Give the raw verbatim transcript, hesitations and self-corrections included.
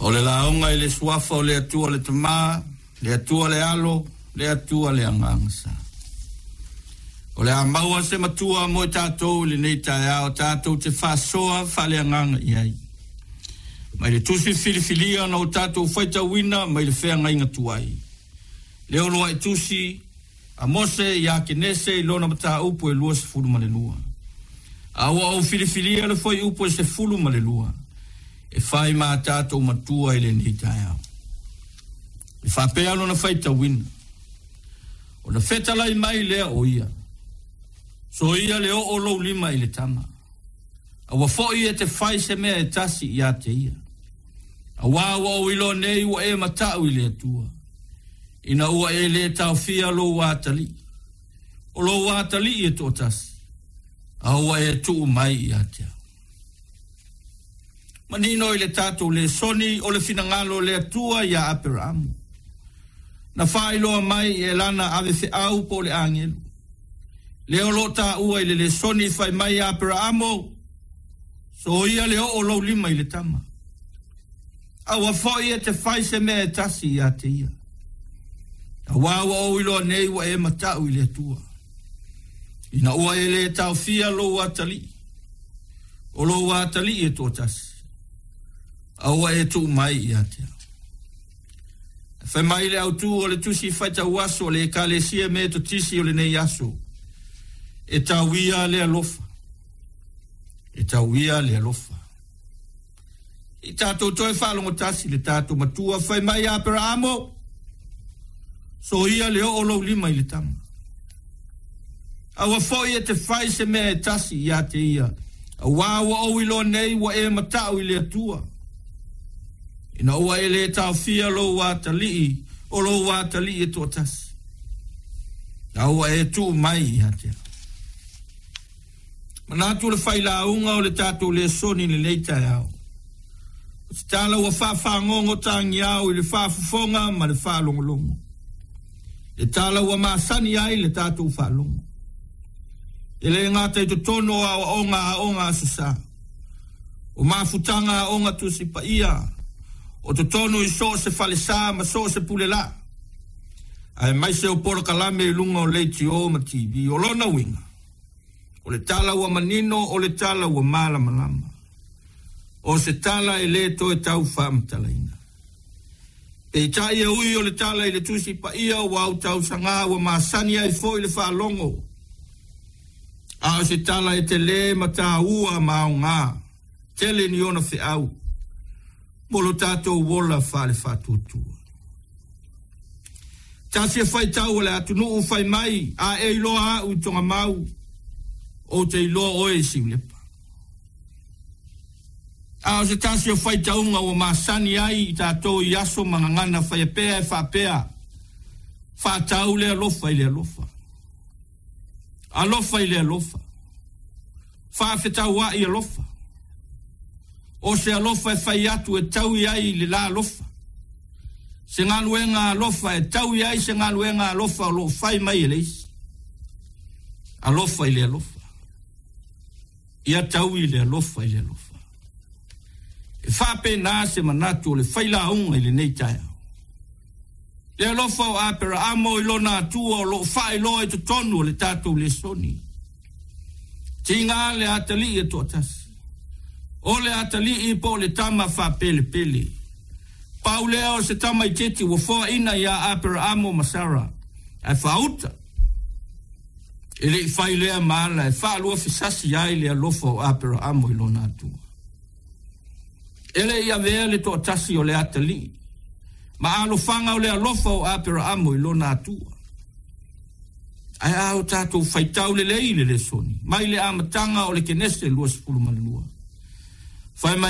O le lauga i le suafa o le Atua le Tama, le Atua le Alo, le Atua le Agaga Sa. O le a maua se matua mo i tatou i lenei taeao tatou te faasoa faaleagaga i ai. Mai le tusi filifilia na o tatou faitauina mai le feagaiga tuai. Le uluai tusi a Mose ia Kenese i lona mataupu e luasefulu ma le lua. A ua ou filifilia le fuaiupu e sefulu ma le lua e fai ma tatou matua i lenei taeao. E faapea lona faitauina. Ona fetalai mai lea o ia. Soia le oo lou lima i le tama. Aua foi e te fai se mea e tasi ia te ia. Auā ua ou iloa nei ua e mata'u i le Atua. Ina ua e lē taofia lou atalii. O lou atalii e toatasi. A ua e tuu mai ia te au. Manino i le tatou lesoni o le finagalo o le Atua ia Aperamo. Na faailoa mai e lana avefeau po o le agelu. Lea o loo taua i le lesoni fai mai Aperamo, soia le oo lou lima i le tama. Aua foi e te fai se mea e tasi ia te ia. Auā ua ou iloa nei ua e mata'u i le Atua. Ina ua e lē taofia lou atalii. O lou atalii e toatasi. A ua e tuu mai ia te au. Fai mai le autū o le tusi faitau aso o le Ekalesia Metotisi o lenei aso. E tauia le alofa. E tauia le alofa. I tatou toe faalogotasi le tatou matua fai mai Aperamo. Soia le oo lou lima i le tama. Aua foi e te fai se mea e tasi ia te ia. Auā ua ou iloa nei ua e mata'u i le Atua. Ina ua e lē taofia lou atalii, o lou atalii e toatasi. A ua e tuu mai ia te au. Manatu le failauga o le tatou lesoni i lenei taeao. O se tala ua faafagogo tagiao i le faafofoga ma le faalogologo. Le tala ua masani ai le tatou faalogo. E lē gata i totonu o aoaoga aoga Aso Sa. O mafutaga aoga Tusi Paia. O totonu i so o se falesa ma so o se pulelaa. Aemaise o polokalame i luga o leitio ma T V. O lona uiga. O le tala ua manino o le tala ua malamalama. O se tala e lē toe tau faamatalaina. Peitai e ui o le tala i le Tusi Paia ua autausagā ua masani ai foi le faalogo. A o se tala e telē ma tāua ma aogā. Tele ni ona feau. Mo lo tatou ola faale-faatuatua. Tasi e faitau o le atunuu fai mai a e iloa a'u i Togamau ou te iloa oe i Siulepa. A o se tasi o faitauga ua masani ai i tatou i aso ma gagana faiapea e faapea faatau le alofa i le alofa. Alofa i le alofa. Faafetaua'i alofa. O se alofa e fai atu e taui ai le la alofa. Se galuega alofa e taui ai se galuega alofa o loo fai mai e le isi. Alofa i le alofa. Ia taui le alofa i le alofa. E faapena se manatu o le failauga i lenei taeao. Le alofa o Aperaamo i lona Atua o loo faailoa i totonu o le tatou lesoni. Tiga le atalii e toatasi. O le atalii po o le tama faapelepele. Pau lea o se tamaitiiti ua foaina ia Aperaamo ma Sara. Ae faauta. E lei fai lea ma ala e faaluafesasi ai le alofa o Aperaamo i lona Atua. E lei avea le toatasi o le atalii. Ma alofaga o le alofa o Aperaamo i lona Atua. Ae a o tatou faitau lelei le lesoni. Mai le amataga o le Kenese luasefulu ma le lua. Fai mai